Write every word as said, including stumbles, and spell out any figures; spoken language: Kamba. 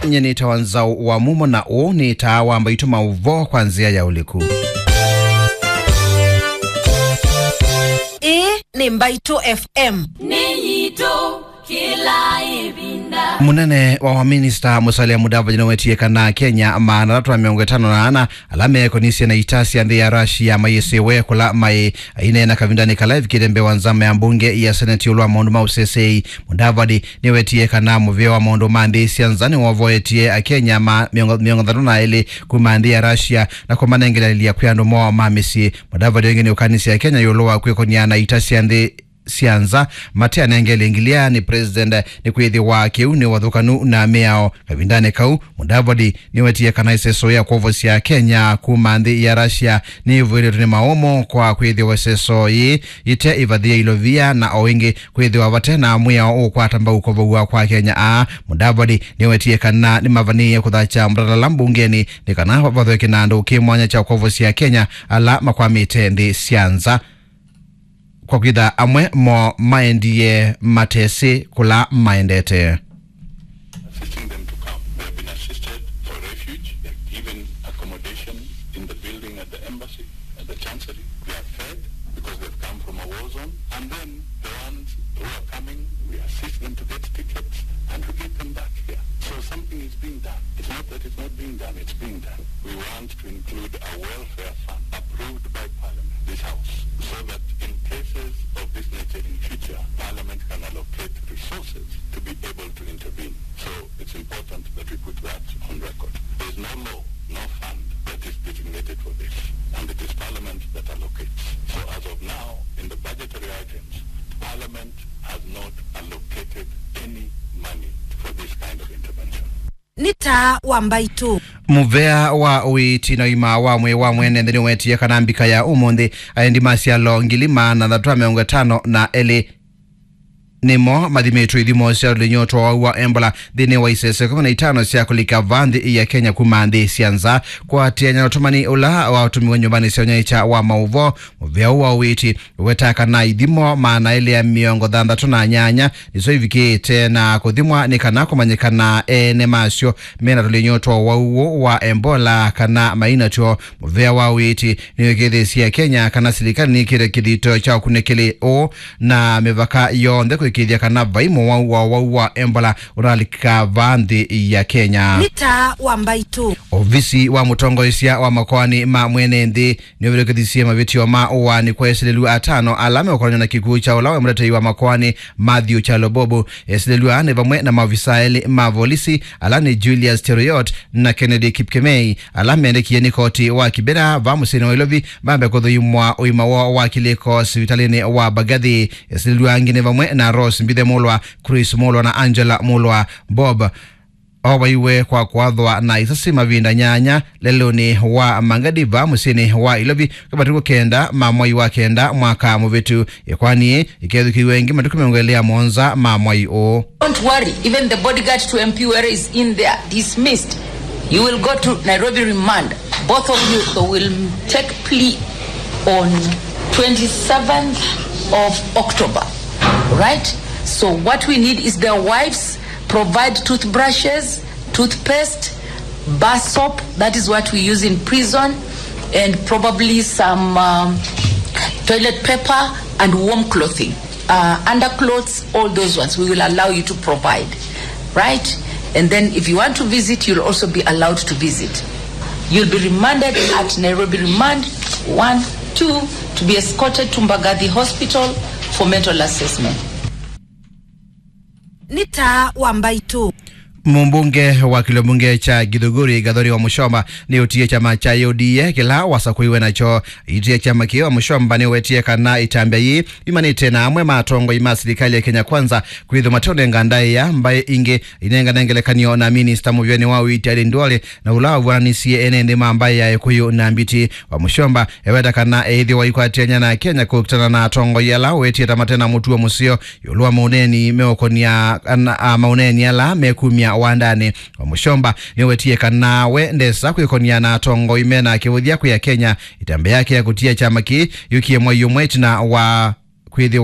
Nye nĩtawa Nzaũ wa Mumo, na ũũ nĩ taa wa Mbaitũ, maũvoo kwa nzĩa ya ũliku. Ĩĩ nĩ Mbaitũ F M. Nĩ yitũ kĩla ĩvinda. Mũnene wa maminista Musalia Mudavadi nĩwetie kana Akenya maana atatũ na mĩongo ĩtano na ana ala meekonisye na ita sya nthĩ ya Russia mayĩsĩwe kũla maĩ. Aineena kavindanĩ kala evikĩte mbee wa nzama ya mbunge ya Senate ĩũlũ wa maũndũ ma ũseseei, Mudavadi nĩwetie kana mũvĩa wa maũndũ ma nthĩ sya nza nĩwovoetie Akenya ma mĩongo, mĩongo thanthatũ na elĩ kuma nthĩ ya Russia na kũmanengeleelya kwĩ andũ moo ma mĩsyĩ. Mudavadi ĩngĩ nĩũkanisye Akenya ĩũlũ wa kwĩkonia na ita sya nthĩ sya nza mateanengelye ngilia nĩ president, nĩkwĩthĩwa kĩu nĩ ũvathũkanu na mĩao. Kavindanĩ kau, Mudavadi nĩwetie kana ĩseso ya kwovosya Akenya kuma nthĩ ya Russia nĩyĩvũĩlĩtwe nĩ maũmũ kwa kwĩthĩwa ĩseso yĩĩ yĩte ĩvathĩe ilovia, na o ĩngĩ kwĩthĩwa vate na mwĩao ũkwata mbau kũvow'a kwa Akenya aa. Mudavadi nĩwetie kana nĩmavanĩĩe kũthakya mũtalala mbungenĩ nĩ kana vathwe kĩnandũ kĩ mwanya kya kwovosya Akenya ala makwamĩte nthĩ sya nza. Kwa kwĩtha amwe moo maendie matesĩ kũla maendete. Assisting them to come. They have been assisted for refuge. They're given accommodation in the building at the embassy, at the chancery. They are fed because they've come from a war zone. And then the ones who are coming, we assist them to get tickets and we get them back here. So something is being done. It's not that it's not being done, it's being done. We want to include a welfare fund approved by Parliament, this House, so that in cases of this nature in future, Parliament can allocate resources to be able to intervene. So it's important that we put that on record. There's no law, no fund that is designated for this, and it is Parliament that allocates. So as of now, in the budgetary items, Parliament has not allocated any money for this kind of intervention. Nĩ taa wa Mbaitũ. Mũvea wa ũiiti na ũima wa mwĩĩ wa mwene nthĩ nĩwetie kana mbika ya ũmũnthĩ, aendi ma syalo ngili maana atatũ na mĩongo ĩtano na elĩ nĩmo mathimĩtwe ithimo sya ũlĩny'o twa wau wa Ebola nthĩnĩ wa isese kũmi na itano sya kũlika vaa nthĩ ya Kenya kuma nthĩ sya nza. Kũatĩanĩa na ũtũmani ũla watũmiwe nyũmbanĩ sya ũnyaĩĩkya wa maũvoo, mũvea ũũ wa ũiiti ũwetaa kana ithimo maana elĩ ya mĩongo thanthatũ na nyanya nĩsyo ivikĩĩte na kũthimwa nĩ kana kũmanyĩkana ene masyo mena tũlĩny'o twa ũwau ũũ wa Ebola kana mainatw'o. Mũvea wa ũiiti nĩwĩkĩĩthĩsye Kenya kana silikalĩ nĩkĩte kĩthito kya ũkunĩkĩli ũũ na mĩvaka yonthe kũĩkĩĩthya kana vai mũwau wa ũwau wa Ebola ũnalika vaa nthĩ ya Kenya. Nĩ taa wa Mbaitũ. Ovisi wa mũtongoesya wa makoani ma mwene nthĩ nĩũvĩtũkĩthisye mavĩtyo ma ũaani kwa esilĩlw'a atano ala meũkonany'a na kĩkw'ũ kya ũla waĩ mũtetei wa makoani Matthew Kyalo Bob. Esilĩlw'a nĩ vamwe na maovisa elĩ ma volisi ala nĩ Julius Cheruiyot na Kennedy Kipkemei, ala mendekie nĩ koti wa Kibera vaa mũsyĩnĩ wa Nairobi mambe kũthũimwa ũima woo wa kĩlĩko sivitalĩnĩ wa Mbagathi. Esilĩlw'a angĩ nĩ vamwe na Rose Mbithe Mulwa, Chris Mulwa na Angela Mulwa. Bob ovaiwe kwa kũathwa na isasi mavinda nyanya lelũnĩ wa Mbagathi vaa mũsyĩnĩ wa Nairobi kwa matukũ kenda ma mwai wa kenda mwaka mũvĩtu. Ĩkoani yĩĩ ĩkethukĩĩw'a ĩngĩ matukũ mĩongo ĩlĩ ya mũonza ma mwai ũũ. Don't worry, even the bodyguard to M P Were is in there, dismissed. You will go to Nairobi remand. Both of you will take plea on twenty-seventh of October, right? So what we need is their wives provide toothbrushes, toothpaste, bar soap, that is what we use in prison, and probably some um, toilet paper and warm clothing, uh, underclothes, all those ones we will allow you to provide, right? And then if you want to visit, you'll also be allowed to visit. You'll be remanded at Nairobi Remand one, two, to be escorted to Mbagathi Hospital for mental assessment. Nĩ taa wa Mbaitũ. Mũmbunge wa kĩlio mbunge kya Githunguri, Gathoni Wamuchomba, nĩũtie kyama kya U D A kĩla wasakũiwe nakyo. Aitie kyama kĩĩ, Wamuchomba nĩwetie kana ĩtambya yĩĩ yumanĩte na amwe ma atongoi ma silikalĩ ya Kenya Kwanza kwĩthwa mateũnenga ndaĩa mbaĩ ingĩ inengane ngelekany'o na minista mũvĩanĩ wa ũiiti Aden Duale, na ũla wavw'ananisye ene nthĩ ma mbaĩ ya Ĩkũyũ na Mbiti. Wamuchomba eweta kana eĩthĩwa aikwatĩanĩa na Akenya kũkitana na atongoi ala wetie ta mate na mũtuo mũseo ĩũlũ wa maũneeni meũkonia ana, a, maũneeni ala mekumya wandanĩ. Wamuchomba nĩwetie kana we ndesa kwĩkonia na atongoi mena kĩvũthya kwĩ Akenya. Ĩtambya yake ya kũtia kyama kĩĩ yũkie mwai ũmwe ĩtina wa kwĩthĩwa